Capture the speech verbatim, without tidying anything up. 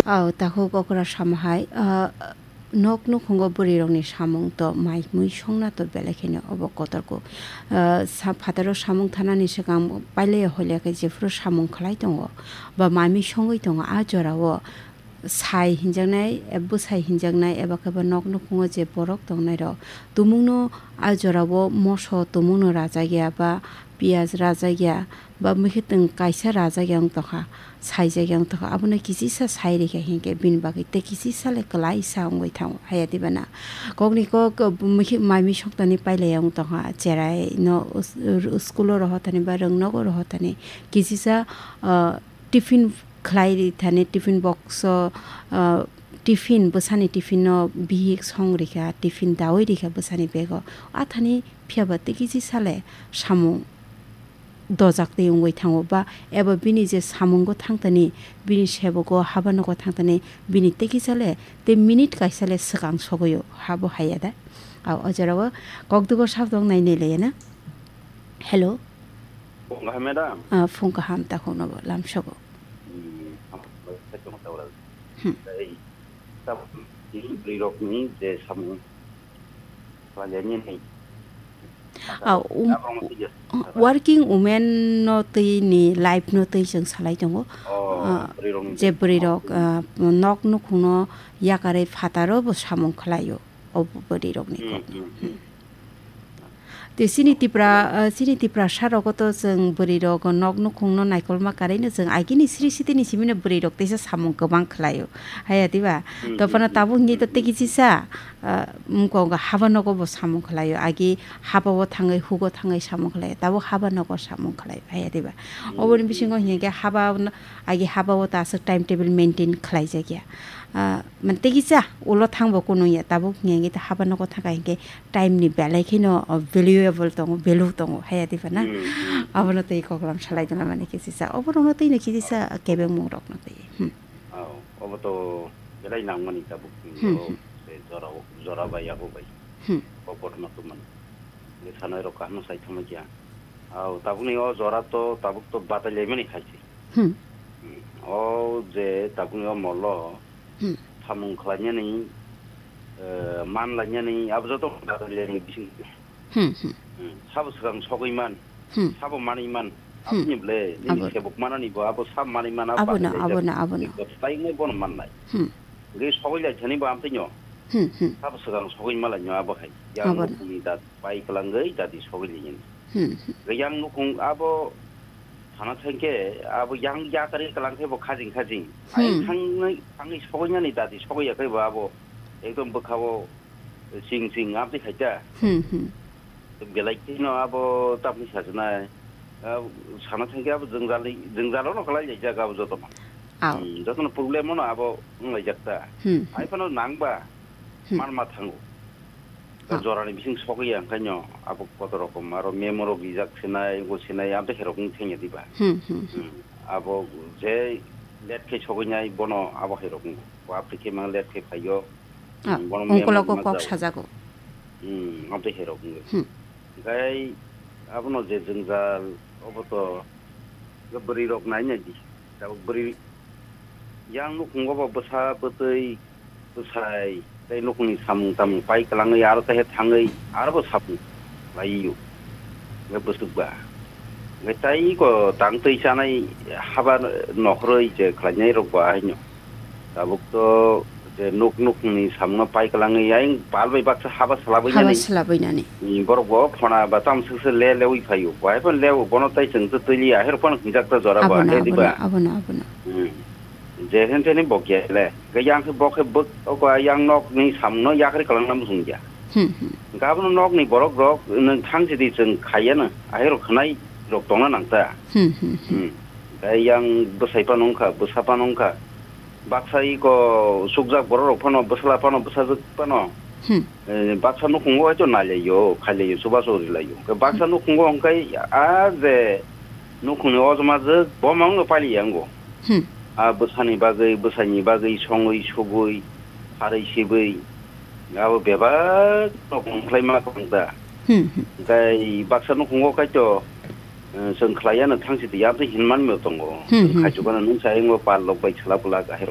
Ao, takhuk okra samo hai, ah, nok nukhungo bwrwirokni samung to mai mui songna to belai kheno obo kotorkuk. Ah, sa-, phataro samung thanani swkang pailaya hoilya khe jephuru samung khlai tongo ba mai mui songwi tongo, a jorao sai hinjaknai, eh, bwsai hinjaknai eba khe bo nok nukhungo je borok tongnairok tumungno a jorao moso tumungno rajak ya ba piyaj rajak ya ba mwkhwtwng kaisa rajak ya wng tongkha, saijak ya wng tongkha, abono kisisa sai rikha hinkhe bini bagwi tei kisisa le kwlai sa wngwi thango, haya diba na? Kokni kok, uh, mwkhwi mai mui soktani pailai ya wng tongkha, cherai no us-, ur-, school o rohor thani ba rwng nogo rohor thani kisisa, uh, tiffin khlai ri thani, tiffin box o, uh, tiffin, bwsani tiffin no bihik song rikha, tiffin dawi rikha bwsani bag o, a thani phiya ba tei kisisa le samung dojak twi wngwi thango ba eba bini je samungo thangtani, bini sebogo haba nogo thangtani, bini tei kisa le tei minute kaisa le swkang sogwi o, habo haiya da. Au, o jorao kokdugor sabo tong nai nai laiya na. Hello. Phung kaham, madam? Ah, phung kaham, takhuk no bo lamsogo. Hmm, hambai khe tong ta ora. Hmm. Tei tabuk ni bwrwi rok ni je samung khlai ya ni nai. Ah, um, Tabuk no twi ya. Working women no twi ni life no twi chwng salai tongo. Oh, ah, bwrwi rok ni je bwrwi rok, ah, nok nukhung no yakarwi phataro bo samung khlai o. O bwrwi rokni Hmm, kokno. Hmm, hmm. Hmm. Tei chini Tipra, ah, chini Tiprasa rogo to chwng bwrwi rok nok nukhung no naikolma karwi no chwng agini sri sitini simi no bwrwi rok teisa samung kwbang khlai o. Haya diba? Hmm, Topano hmm, tabuk hmm, hingke to hmm, tei hmm. Kisa, ah, mukong haba nogo bo samung khlai o. Agi haba o thangwi hugo thangwi samung khlai o. Tabuk haba nogo samung khlai o. Haya diba? Hmm, Oboni hmm, bisingo hmm. Hingke haba no, agi haba o ta aswk time table maintain khlai jak ya. Ah, man tei kisa ulo thangbo kunung ya, tabuk hingke hingke haba nogo thangkha hingke time ni belai kheno, oh, valuable tongo, value tongo, haya diba na? Hmm, hmm, hmm. Abono tei koklam salai dona mani khe sisa, oborokno tei no khe sisa kebengmung rokno tei. Hmm. Oh, obo to belai nangmani tabuk ni Hmm, oro hmm. Se jora, jora bai abo bai. Hmm. Oborokno to man. Ni sanai rok kaham sai thangma kya. Oh, tabuk ni o jora to tabuk to batai lai mani khai se. Hmm. Hmm. O je tabuk ni o molo Hmm. Samung khlainani, eh, man lainani, abo joto khlainani bising. Hmm, hmm. Hmm. Sabo swkang sogwi man, Hmm. Sabo manwi man, Hmm. Aboni ble, nini Abo. Sebuk manani bo, abo sab manwi man, abo Abono, bahai abono, laijak. Abono. Eko tai ngai bono mannai. Hmm. Ge sogwi lai thani bo amtwi nyo. Hmm, hmm. Sabo swkang sogwi malai nyo abo hai. Yang Abono. Nukuni dat pai kwlangwi dadi sogwi lai nyo. Hmm, hmm. Ge yang nukung abo Sana thangkhe abo yang yakarwi kwlangkhe bo khajing khajing. Hmm. Ayang thangwi, thangwi sogoinani dadi sogoi yakhai bo abo ekdom bwkhao ching ching amtwi khaita. Hmm, hmm. Belai kheno abo tamni sajwnai. Ah, sana thangkhe abo jwngjal, jwngjalo no kwlai laijak abo jotono. Au. Hmm, jotono problem no abo wnglaijak ta. Hmm, hmm. Hai phano nangba Hmm. Manma thango. Ah. Jorani bising sogwi ya, onkhaino abo kotor rokom, aro memo rok rijak sinai, wngkha sinai, amtwi khe rok wng thangya diba? Hmm, hmm, hmm. Hmm. Abo je late khe sogwinai, bono abo hai rok wngkha. Bo amtwi khe mang late khe phaiyo. Ah, hmm, bono memo ongkologo rok kok ma jago. Sajago. Hmm, amtwi hai rok wngkha. Hmm. Gai abono je jwngjal, obo to bwrwi rok nai nai di. Tabuk bwrwi yang nukhungo bo bwsa bwtwi bwsai tei nukhungni samung tamung pai kwlangwi aro tei thangwi aro bo samung laio. Hwnkhe bwswk ba. Hwnkhe tei ko tang twi chanai haba nokhorwi je khlainai rok ba haino. Tabuk to je nuk nukhungni samungno pai kwlangwi ayang pal bai baksa haba swlabwi nani. Haba swlabwi nani. Ni borok bo phona ba tamo swkse le lewi phaio. Bo hai phano leo bono tei chwng twi twi liya. Ahero phano hinjak ta jora bo Abono, hai diba? Abono, abono, abono. Hmm. Je hen teni bo khe le. Khe yang khe bo khe bwk o ko yang nok ni samungno yakarwi kwlangna muchung ya. Hmm, hmm. Hwnkhe abono nok ni borok rok nwng thang sidi chwng khaiya no. Ahero khwnai rok tongna nang ta. Hmm, hmm, hmm. Hmm. Khe yang bwsai phano wngkha, bwsa phano wngkha. Baksa iko sukjak borok rok phano, bwsala phano, bwsajwk phano. Hmm. Eh, baksa nukhungo haicho nailaio, khailaio, chubachu rilaio. Khe baksa Hmm. Nukhungo hwnkhe a je nukhungni ojma jwk bo mangno pailiya wngo. Hmm. A bwsani bagwi, bwsaini bagwi songwi, sugwi, kharwi sibwi, abo bebak nukhung khlaima kwbang ta. Hmm, hmm. Tei baksa nukhungo kaitor, eh, chwng khlaiya no thang sidi, amtwi hinman mio tongo. Hmm, hmm, Khaichukano hmm. Nung sa ingo pal lok bai chwla bwlak ahero.